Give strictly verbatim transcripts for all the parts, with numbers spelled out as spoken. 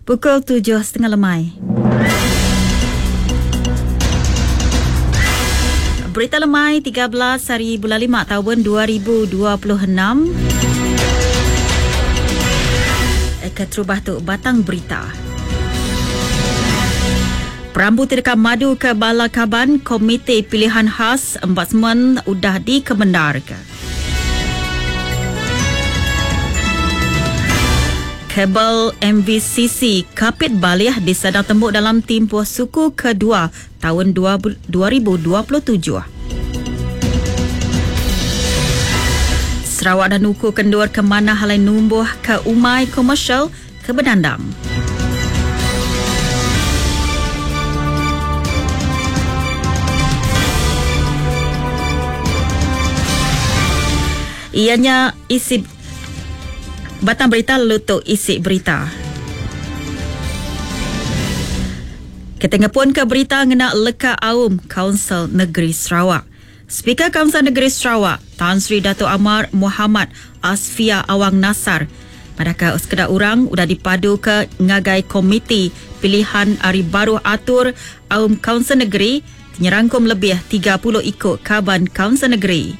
Pukul tujuh setengah lemai. Berita lemai tiga belas hari bulan lima tahun dua ribu dua puluh enam. Keterubah tu batang berita. Perambu tidak madu ke Bala Kaban Komite Pilihan Khas Ombudsman udah dikemendarkan. Kabel M V C C Kapit Balih disadang tembuk dalam tempoh suku kedua tahun dua ribu dua puluh tujuh. Sarawak dan Nuku kendur ke mana halai numbuh ke umai komersial ke Bedandang. Ianya isi batang berita lalu tu isi berita. Kita ngepun ke berita ngena leka aum Kaunsil Negeri Sarawak. Speaker Kaunsil Negeri Sarawak, Tan Sri Dato' Amar Muhammad Asfia Awang Nasar, padahal sekedar orang udah dipadu ke ngagai Komiti Pilihan Ari Baruh Atur Aum Kaunsil Negeri nyerangkum lebih tiga puluh ikut kaban Kaunsil Negeri.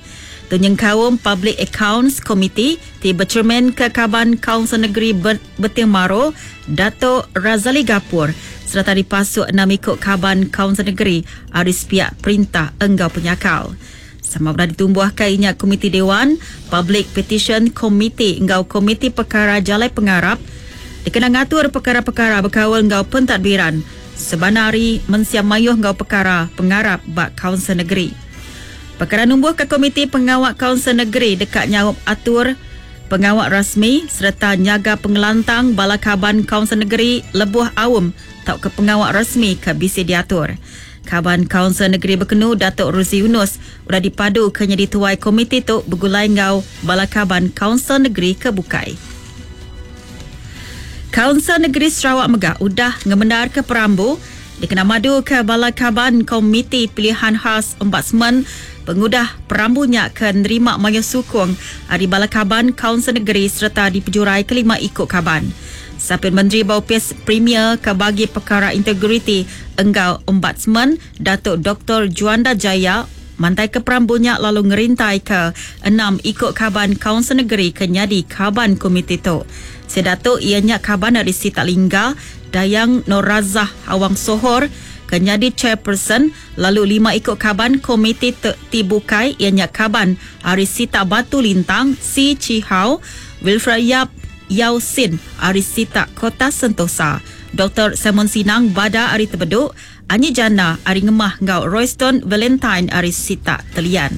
Tunyeng kaum Public Accounts Committee ti bercermin ke kaban Kaunsil Negeri Beting Maro, Dato' Razali Gapur serta dipasuk enam ikut kaban Kaunsil Negeri aris pihak perintah enggau penyakal. Sama berada ditumbuhkan inya Komiti Dewan, Public Petition Committee enggau Komiti Perkara Jalai Pengarap dikena ngatur perkara-perkara berkawal enggau pentadbiran sebanari mensia mayuh enggau perkara pengarap bak Kaunsil Negeri. Perkara numbuh ke Komiti Pengawak Kaunsil Negeri dekat nyaup atur pengawak rasmi serta nyaga pengelantang bala kaban Kaunsil Negeri lebuh awam tau ke pengawak rasmi ke bisi diatur. Kaban Kaunsil Negeri Bekenu Datuk Ruzi Yunus udah dipadu ke nyadi tuai komiti tu begulai ngau bala kaban Kaunsil Negeri ke Bukai. Kaunsil Negeri Sarawak megah udah ngemendar ke perambu dikena madu ke bala kaban Komiti Pilihan Khas Ombudsman pengudah perambunya ke nerima mayuh sukung ari bala kaban Kaunsil Negeri serta dipejurai kelima ikut kaban. Sapin Menteri Baupis Premier ke bagi perkara integriti enggau Ombudsman Datuk Doktor Juanda Jaya mantai ke perambunya lalu ngerintai ke enam ikut kaban Kaunsil Negeri ke nyadi kaban komiti tu. Sedatuk ianya kaban dari Sita Lingga, Dayang Norazah Awang Sohor ke nyadi chairperson, lalu lima ikut kaban komiti Tibukai ianya kaban ari Sita Batu Lintang, Si Chi Hao, Wilfred Yap Yau Sin ari Sita Kota Sentosa, Doktor Simon Sinang Bada ari Tebeduk, Anyi Jana ari Ngemah ngau Royston Valentine ari Sita Telian.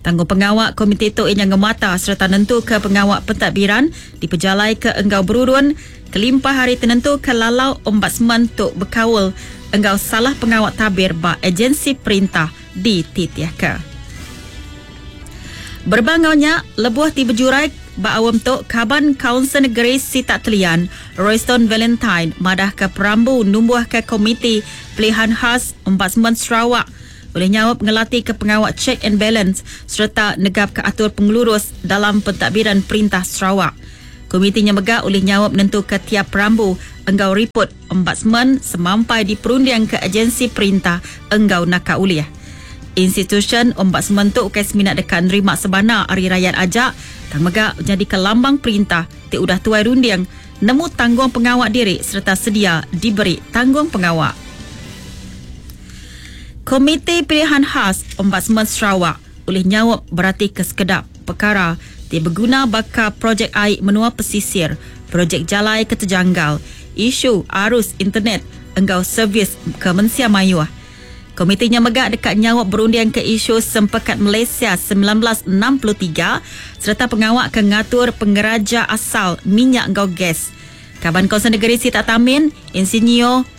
Tanggung pengawak komiti tu ianya ngemata serta nentu ke pengawak pentadbiran dipejalai ke enggau berurun kelimpah hari tenentu ke lalau ombudsman tu berkawal enggau salah pengawak tabir ba agensi perintah di Titiaka. Berbangaunya lebuh ti berjurai ba awam tu kaban Kaunsil Negeri Sita Telian Royston Valentine madah ke perambu numbuh ke Komiti Pilihan Khas Ombudsman Sarawak boleh nyawab ngelatih ke pengawak check and balance serta negap ke atur pengelurus dalam pentadbiran perintah Sarawak. Komitinya megah oleh nyawab menentu ke tiap perambu enggau report ombudsman semampai diperundiang ke agensi perintah enggau naka uliah. Institution ombudsman tu ukai seminat dekat nerima sebana ari rakyat ajak tang megah jadi ke lambang perintah ti udah tuai runding nemu tanggung pengawak diri serta sedia diberi tanggung pengawak. Komiti Pilihan Khas Ombudsman Sarawak oleh nyawab berarti ke sekedap perkara ti berguna bakal projek air menua pesisir, projek jalai keterjanggal, isu arus internet enggau servis ke mensia mayuh. Komitinya megak dekat nyawab berundian ke isu Sempekat Malaysia sembilan belas enam puluh tiga serta pengawak ke ngatur pengeraja asal minyak enggau gas. Kaban Kaunsil Negeri Sita Tamin, Insinyur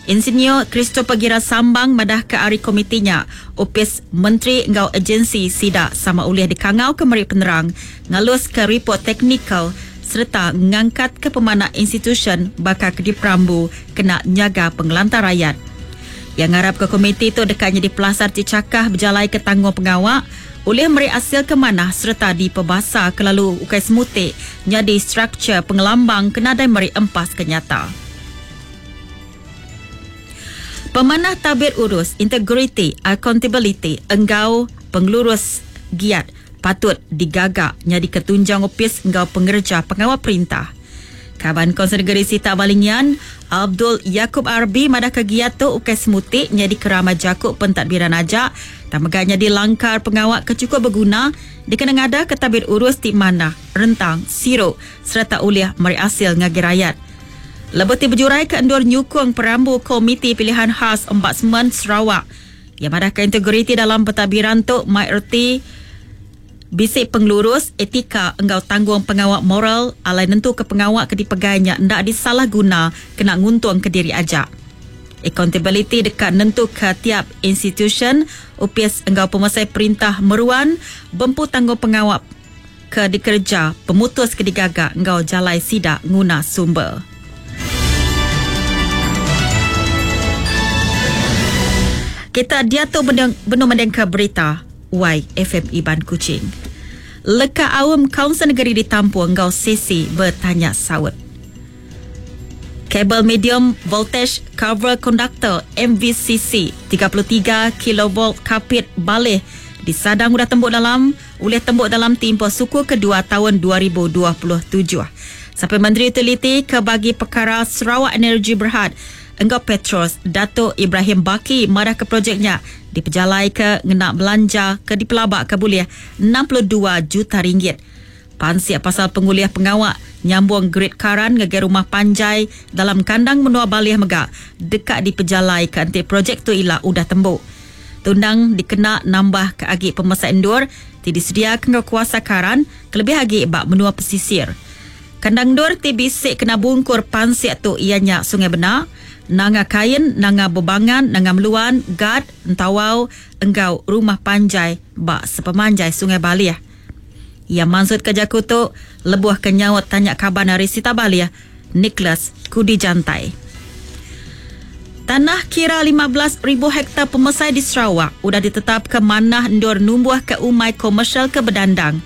Insinyur Christopher Gira Sambang madah ke ari komitinya Opis Menteri enggau Agensi Sida sama ulih dikangau ke meri penerang ngalus ke report teknikal serta ngangkat ke pemanak institution bakal ke diperambu kena nyaga pengelantar rakyat. Yang ngarap ke komiti tu dekatnya di pelasar cicakah berjalai ke tanggung pengawak oleh meri hasil ke mana serta dipebasa ke lalu ukai semutik nyadi struktur pengelambang kena dai meri empas kenyata. Pemanah tabir urus, integriti, accountability enggau pengelurus giat patut digagak nyadi ketunjang opis enggau pengerja pengawal perintah. Kaban Konsel Negeri Sita Balingian, Abdul Yakub Arbi madah kegiat tu ukai semutik nyadi kerama jakuk pentadbiran aja, tak meganya dilangkar pengawak kecukup berguna dikena ngada ke tabir urus ti mana, rentang, siruk serta uliah meri hasil ngagi rakyat. Lebih ti berjurai ke endur nyukung perambu Komiti Pilihan Khas Ombudsman Sarawak. Yang madah ke integriti dalam pentadbiran tu mai erti bisik pengelurus, etika enggau tanggung pengawak moral alai nentu ke pengawak ke dipegainya ndak disalah guna kena nguntung ke diri ajak. Accountability dekat nentu ke tiap institution upis enggau pemasai perintah meruan bempu tanggung pengawak ke dikerja pemutus ke digagak enggau jalai sidak nguna sumber. Kita dia tu benung mendengka berita Y F M Iban Kuching. Leka awam Kaunsil Negeri ditampung enggau sesi bertanya saut. Kabel medium voltage cover conductor M V C C tiga puluh tiga kilovolt kapit balih disadang udah tembuk dalam ulih tembuk dalam tempoh suku kedua tahun dua ribu dua puluh tujuh. Sampai Menteri Utiliti ke bagi perkara Sarawak Energy Berhad enggau Petros Dato' Ibrahim Baki marah ke projeknya dipejalai ke ngena belanja ke dipelabak ke boleh enam puluh dua juta ringgit. Pansiak pasal penguliah pengawak nyambung grid karan ngagai rumah panjai dalam kandang menua Balih mega dekat dipejalai ke anti projek tu ila udah tembuk. Tundang dikena nambah ke agi pemesak endur ti disediakan ke kuasa karan kelebih agi bak menua pesisir. Kandang endur ti bisik kena bungkur pansiak tu ianya Sungai Benak, Nanga Kain, Nanga Bebangan, Nanga Meluan, Gad, Entawau, enggau rumah panjai bak sepemanjai Sungai Balih. Ia maksud ke jaku tu lebuh ke nyaut tanya kaban dari Sita Balih, Nicholas Kudi Jantai. Tanah kira lima belas ribu hektar pemesai di Sarawak udah ditetap ke manah endur numbuh ke umai komersial ke bedandang.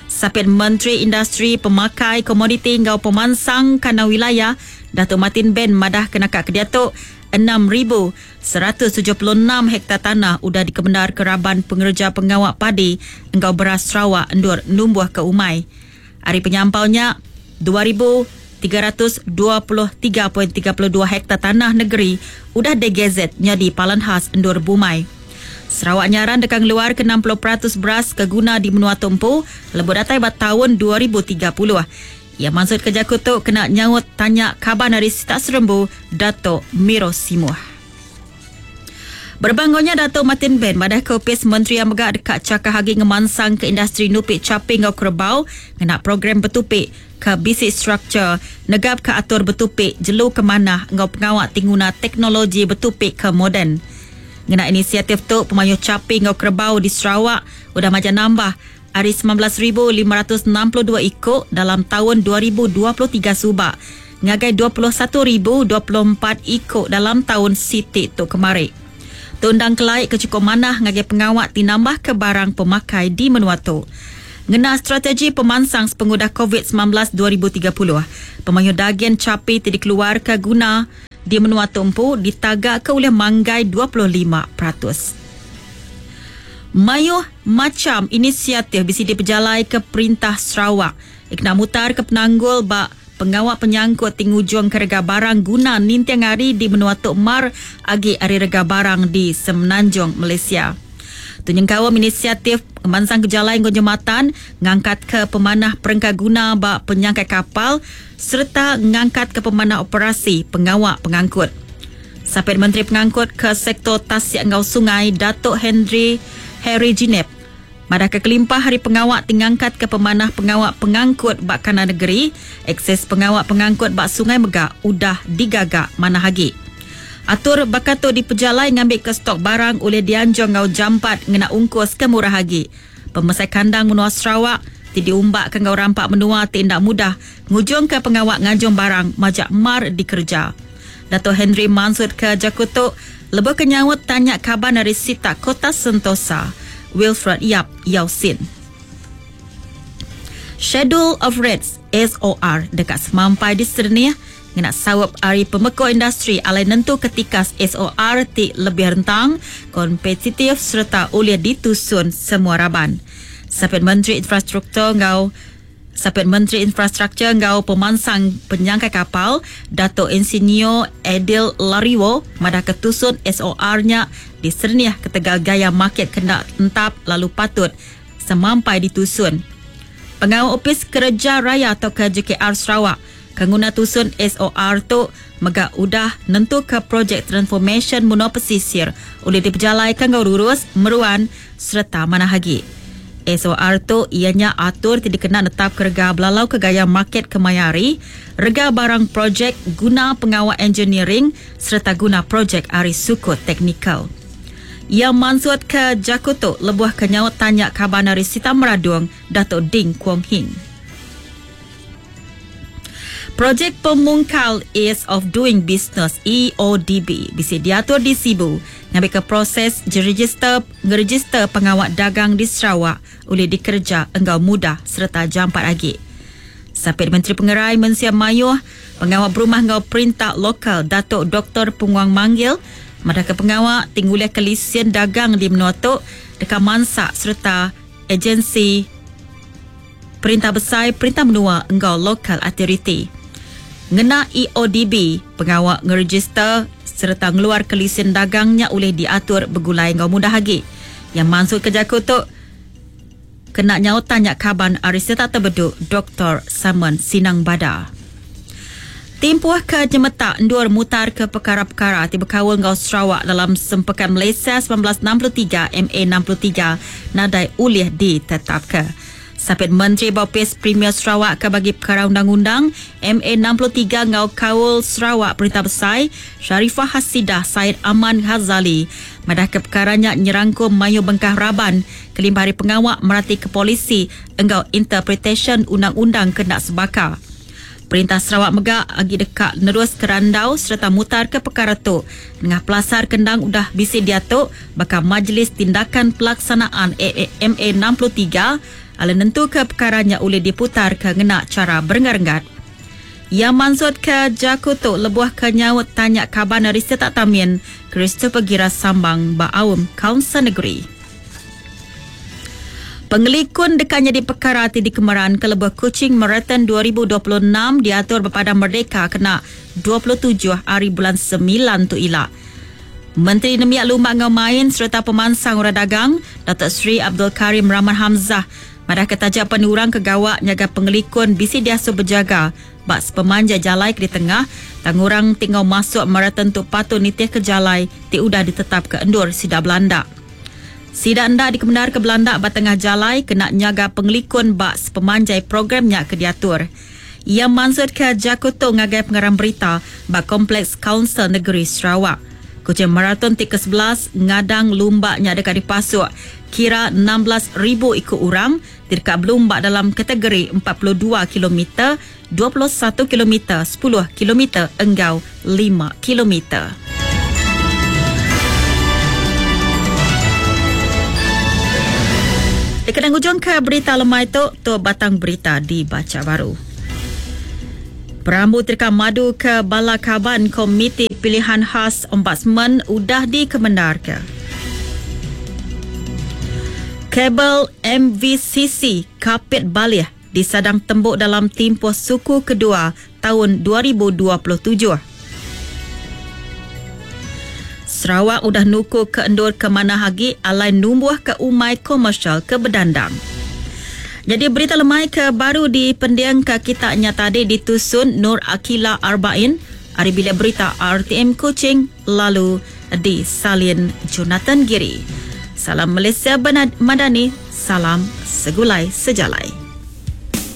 Sapit Menteri Industri Pemakai Komoditi enggau Pemansang Kana Wilayah Datuk Martin Ben madah kena kat kediatuk enam ribu seratus tujuh puluh enam hektar tanah udah dikemendar ke raban pengerja pengawak padi enggau beras Sarawak endur numbuh ke umai. Hari penyampaunya dua ribu tiga ratus dua puluh tiga perpuluhan tiga dua hektar tanah negeri udah degazet jadi palan khas endur bumai. Sarawak nyaran dekat keluar ke enam puluh peratus beras ke guna di menua tumpu lebuh datai bat tahun dua ribu tiga puluh. Ia maksud kerja kutuk kena nyaut tanya kaban dari Sitak Serembu Datuk Miro Simuh. Berbangunnya Datuk Martin Ben madah ke opis Menteri yang megak dekat cakah hagi ngemansang ke industri nupik caping ngau kerbau ngena program betupik ke basic structure negap ke atur betupik jelu ke manah ngau pengawak tinguna teknologi betupik ke moden. Ngena inisiatif tu pemayuh caping ngau kerbau di Sarawak udah macam nambah hari sembilan belas ribu lima ratus enam puluh dua ikut dalam tahun dua ribu dua puluh tiga subak ngagai dua puluh satu ribu dua puluh empat ikut dalam tahun sitik tu kemari. Tundang kelaik ke cukup manah ngagai pengawak tinambah ke barang pemakai di menua tu. Ngena strategi pemansang sepengudah COVID sembilan belas dua ribu tiga puluh, pemayuh daging capi ti dikeluar ke guna di menua tumpu ditagak ke oleh manggai dua puluh lima peratus. Mayuh macam inisiatif bisi dipejalai ke Perintah Sarawak. Ikna mutar ke penanggul bak pengawak penyangkut tingujung ke rega barang guna nintiang hari di menua Tok Mar agi hari rega barang di Semenanjung Malaysia. Tunyeng kawam inisiatif pemansang kejalai nggo jematan ngangkat ke pemanah perengka guna bak penyangkai kapal serta ngangkat ke pemanah operasi pengawak pengangkut. Sapit Menteri Pengangkut ke Sektor Tasik Enggau Sungai Datuk Henry Harry Jinep madah ke kelimpah hari pengawak tingangkat ke pemanah pengawak pengangkut bak kanan negeri, akses pengawak pengangkut bak Sungai Megak udah digagak manah agi. Atur bakato dipejalai ngambil ke stok barang oleh dianjung ngau jampat ngena ungkus ke murah agi. Pemesai kandang menua Sarawak ti diumbak ke ngau rampak menua ti ndak mudah ngujung ke pengawak ngajung barang majak mar dikerja. Dato' Henry Mansud ke Jakutuk lebih kenyawut tanya kaban dari Sita Kota Sentosa Wilfred Yap Yausin. Schedule of Rates S O R dekat semampai di Sernia Ngena sawap ari pemeko industri alai nentu ketika S O R ti lebih rentang, kompetitif serta oleh ditusun semua raban. Sapit Menteri Infrastruktur ngau Sapit Menteri Infrastruktur ngau Pemansang Penyangkai Kapal Dato' Insinyur Aidil Lariwoo madah ketusun S O R-nya diserniah ketegal gaya market kena entap lalu patut semampai ditusun. Pengawal Opis Kerja Raya atau K J K R Sarawak kenguna tusun S O R tu mega udah nentu ke projek transformation menua pesisir oleh diperjalaikan ngau lurus, meruan serta manah lagi. S O R tu ianya atur ti dikena netap kerja belalau ke gaya market kemayari, rega barang projek guna pengawal engineering serta guna projek ari suku teknikal. Ia mansut ke Jakuto lebuh ke nyaut tanya kaban ari Sita Meradung Datuk Ding Kuong Hing. Projek Pemungkal Ease of Doing Business E O D B bisa diatur di Sibu ngambil ke proses register ngeregister pengawal dagang di Sarawak oleh dikerja engkau mudah serta jampat lagi. Sapit Menteri Pengerai Mensia Mayuh Pengawal Berumah Ngau Perintah Lokal Datuk Doktor Penguang Manggil madah ke pengawal tinggulih kelisian dagang di menua tu dekat mansak serta agensi Perintah Besar Perintah Menua Engkau Lokal Authority. Ngena E O D B, pengawal ngeregister serta ngeluar kelisian dagangnya oleh diatur bergulai engkau mudah lagi. Yang masuk ke Jaku tu kena nyaut tanya kaban Ariseta Terbeduk Doktor Simon Sinang Bada. Timpuh ke jemetak endur mutar ke perkara-perkara ti berkawal ngau Sarawak dalam Sempekan Malaysia sembilan belas enam puluh tiga M A enam puluh tiga nadai ulih ditetapkan. Sapit Menteri Bapis Premier Sarawak ke bagi perkara undang-undang M A enam puluh tiga ngau Kaul Sarawak Perintah Besar Sharifah Hasidah Said Aman Ghazali madah ke perkaranya nyerangkum mayu bengkah raban kelimpah hari pengawak merati ke polisi engkau interpretation undang-undang kena sebaka. Perintah Sarawak megak agi dekat nerus kerandau serta mutar ke perkara tu. Dengan pelasar kendang udah bisi diatuk bakal Majlis Tindakan Pelaksanaan M A enam puluh tiga ala nentu ke perkaranya boleh diputar ke ngena cara berenggat-renggat. Yang mansut ke Jakuto lebuh ke nyaut tanya kaban dari Setak Tamin Christopher Gira Sambang Baaum Kaunsil Negeri. Pengelikun dekatnya di perkara ti dikemeran ke lebuh Kuching Marathon dua ribu dua puluh enam diatur berpada Merdeka kena dua puluh tujuh hari bulan sembilan tu ila. Menteri Nemiak Lumak Ngau Main serta Pemansang Orang Dagang Datuk Seri Abdul Karim Rahman Hamzah madah ketajak penurang kegawak nyaga pengelikun bisi diasuh berjaga bak sepemanja jalai ke di tengah tangurang tinggal masuk marathon tu patut nitih ke jalai ti udah ditetap ke endur sida Belanda. Sida anda dikemenar ke Belanda ba tengah jalai kena nyaga pengelikun bak sepemanjai programnya ke diatur. Ia mansut ke Jakuto ngagai pengarang berita bak Kompleks Kaunsil Negeri Sarawak. Kuching Marathon T ke sebelas ngadang lumbaknya dekat dipasuk kira enam belas ribu ikut orang dekat berlumbak dalam kategori empat puluh dua kilometer, dua puluh satu kilometer, sepuluh kilometer enggau lima kilometer. Dekat hujung ke berita lemai tu, tu batang berita dibaca baru. Perambu terkam madu ke Bala Kaban Komiti Pilihan Khas Ombudsman udah dikemenar ke. Kabel M V C C Kapit Balih disadang tembuk dalam tempoh suku kedua tahun dua ribu dua puluh tujuh. Sarawak udah nuku ke endur ke mana hagi alai numbuh ke umai komersial ke Bedandang. Jadi berita lemai ke baru di pendiang ke kita nya tadi ditusun Nur Akila Arbain ari bilik berita R T M Kuching lalu di Salin Jonathan Giri. Salam Malaysia Madani, salam segulai sejalai.